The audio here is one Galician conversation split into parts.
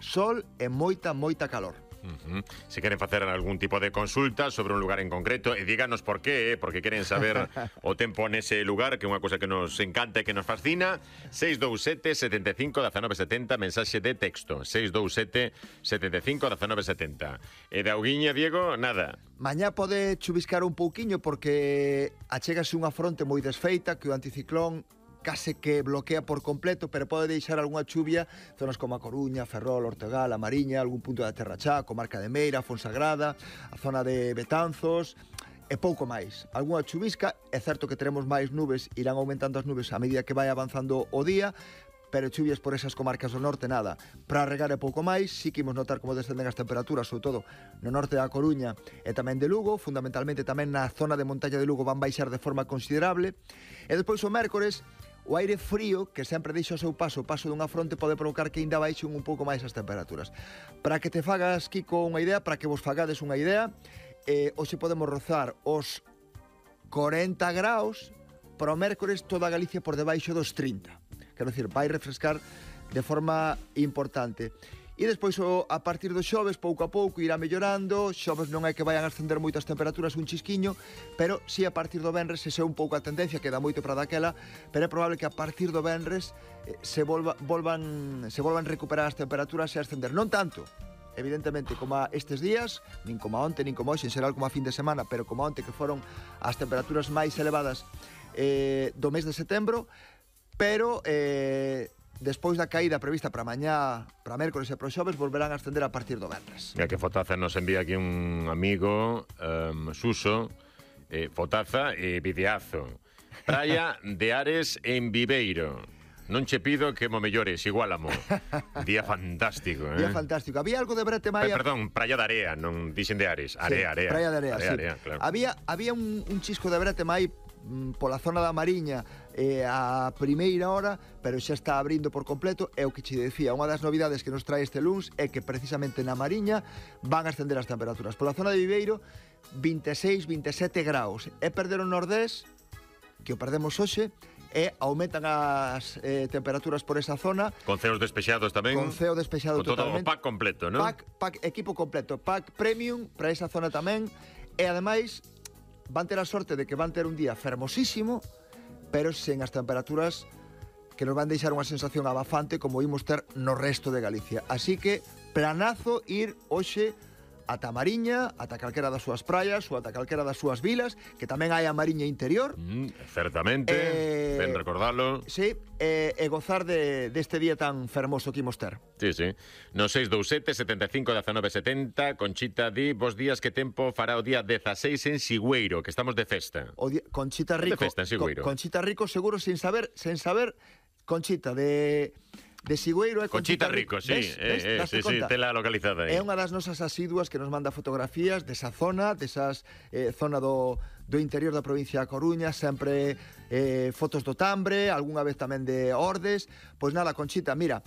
sol e moita calor. Se queren facer algún tipo de consulta sobre un lugar en concreto, e díganos por qué, porque queren saber o tempo nese lugar, que é unha cousa que nos encanta e que nos fascina. 627 75 19 70, mensaxe de texto. 627 75 19 70. E de auguiña, Diego, nada. Mañá pode chuviscar un pouquiño porque achégase unha fronte moi desfeita que o anticiclón case que bloquea por completo, pero pode deixar algunha chuvia zonas como a Coruña, Ferrol, Ortegal, a Mariña, algún punto da Terra Chá, comarca de Meira, Fonsagrada, a zona de Betanzos, e pouco máis. Algunha chuvisca, é certo que teremos máis nubes, irán aumentando as nubes a medida que vai avanzando o día, pero chuvias por esas comarcas do norte nada. Para regar é pouco máis, sí que imos notar como descenden as temperaturas, sobre todo no norte da Coruña e tamén de Lugo, fundamentalmente tamén na zona de montaña de Lugo van baixar de forma considerable, e despois o mércores o aire frío, que sempre deixa o seu paso, o paso dunha fronte, pode provocar que ainda baixen un pouco máis as temperaturas. Para que te fagas, Kiko, unha idea, para que vos fagades unha idea, hoxe podemos rozar os 40 graus, para o mércores toda Galicia por debaixo dos 30. Quero dicir, vai refrescar de forma importante. E despois, a partir do xoves, pouco a pouco, irá mellorando. Xoves non é que vayan a ascender moitas temperaturas, un chisquiño, pero si a partir do venres, se é un pouco a tendencia, que dá moito para daquela, pero é probable que a partir do venres se volvan recuperar as temperaturas e ascender. Non tanto, evidentemente, como a estes días, nin como a onte, nin como hoxe, en xeral como a fin de semana, pero como a onte, que foron as temperaturas máis elevadas do mes de setembro, pero despois da caída prevista para mañá, para mércores e para xoves, volverán a ascender a partir do venres. Mira que fotaza nos envía aquí un amigo, Suso, fotaza e videazo. Praia de Ares en Viveiro. Non che pido que mo mellores, igualamo. Día fantástico, Día fantástico. Había algo de brete maia... Perdón, Praia de Area, non dixen de Ares. Area. Praia de Area, sí. Claro. Había un chisco de brete mai pola zona da Mariña a primeira hora, pero xa está abrindo por completo. É o que che decía, unha das novidades que nos trae este luns é que precisamente na Mariña van a ascender as temperaturas. Pola zona de Viveiro, 26, 27 graus. É perder o nordés, que o perdemos hoxe, e aumentan as temperaturas por esa zona. Con ceos despexados tamén. Con ceo despexado totalmente. Todo o pack completo, non? Pack, equipo completo. Pack premium para esa zona tamén. E ademais van ter a sorte de que van ter un día fermosísimo, pero sen as temperaturas que nos van deixar unha sensación abafante como imos ter no resto de Galicia. Así que planazo ir hoxe ata Mariña, ata calquera das súas praias ou ata calquera das súas vilas, que tamén hai a Mariña interior. Certamente, ben recordalo. Sí, e gozar deste día tan fermoso que imos ter. Sí. No 627 75 19 70, Conchita di, bos días, que tempo fará o día 16 en Sigüeiro, que estamos de festa. Conchita Rico. De festa en Sigüeiro. Conchita Rico, seguro, sin saber, Conchita, de Sigüeiro é Conchita Rico, sí, sí, tela localizada aí. É unha das nosas asiduas que nos manda fotografías desa zona, zona do interior da provincia da Coruña, sempre fotos do Tambre, algunha vez tamén de Ordes. Pois nada, Conchita, mira,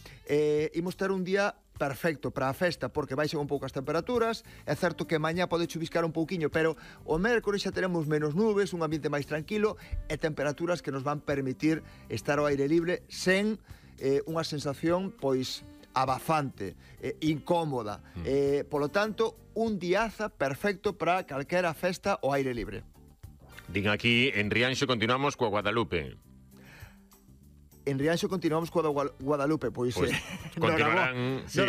imos ter un día perfecto para a festa porque baixan un pouco as temperaturas. É certo que mañá pode chuviscar un pouquiño, pero o mércores xa teremos menos nubes, un ambiente máis tranquilo e temperaturas que nos van permitir estar ao aire libre sen unha sensación pois abafante, incómoda. Polo tanto, un diaza perfecto para calquera festa ao aire libre. Din aquí, en Rianxo continuamos coa Guadalupe. En Rianxo continuamos coa Guadalupe, pois continuarán, sí.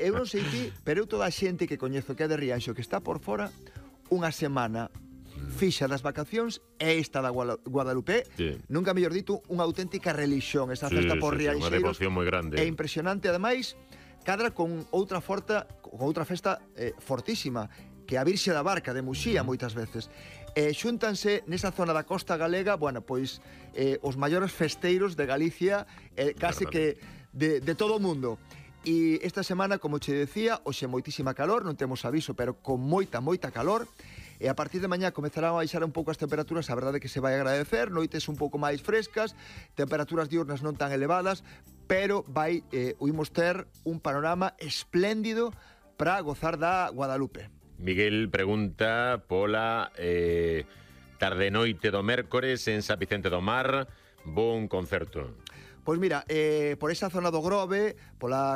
Eu non sei ti, pero eu toda a xente que coñezo que é de Rianxo, que está por fora unha semana fixa das vacacións, é esta da Guadalupe, nunca mellor dito, unha auténtica religión, esa festa por Rianxeiros. Unha devoción moi grande. É impresionante, ademais, cadra con outra festa fortísima, que é a Virxe da Barca de Muxía, moitas veces. Xúntanse nesa zona da costa galega, bueno, pois os maiores festeiros de Galicia, case que de todo o mundo. E esta semana, como che decía, hoxe moitísima calor, non temos aviso, pero con moita calor. E a partir de mañá comezarán a baixar un pouco as temperaturas, a verdade que se vai agradecer, noites un pouco máis frescas, temperaturas diurnas non tan elevadas, pero imos ter un panorama espléndido para gozar da Guadalupe. Miguel pregunta pola tarde-noite do mércores en San Vicente do Mar, bon concerto. Pois mira, por esa zona do Grove, pola